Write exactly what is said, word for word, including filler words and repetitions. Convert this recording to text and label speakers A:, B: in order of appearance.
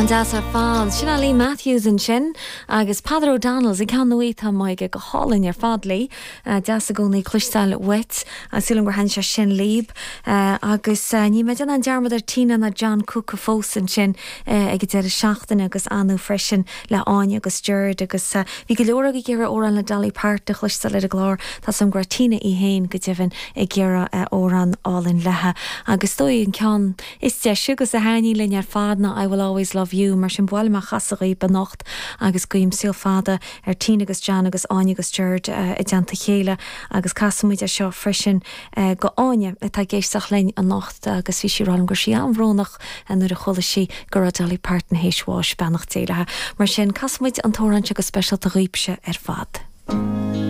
A: An-deas ar fad sin Lee Matthews ansin agus Peadar O'Donnell's ag cean nuítá maige go hálainn ar fad Lee deas i gcónaí cloisteáil uait sílim gur thaitin sé sin libh agus ní mé an dearmad ar Tina ná John Cooke fós ansin ag an deireadh seachtaine agus anu freisin le Áine agus Gerard agus bhí go leor ag iarraidh amhrán le Dolly Parton a chloisteáil ar an gclár Tá sam gur Tina í héin go deimhin ag iarraidh amhrán álainn léi agus dóigh an ceann is deise agus a thaitníonn linn ar fad ná I will always love you mar sin bhil me chasa benacht agus guím saol fada ar Tina agus John agus Áine agus Gerard uh, i dteannta chéile agus casaimid é seo freisin uh, go Áine atá ag éisteacht linn anocht agus bhí sí ag rá gur sí an-bhrónach nuair a chuala sí go raibh Dolly Parton théis bháis beannacht Dé léi mar sin casaimid an t-amhrán seo go speisialta dhaoibhse ar fad.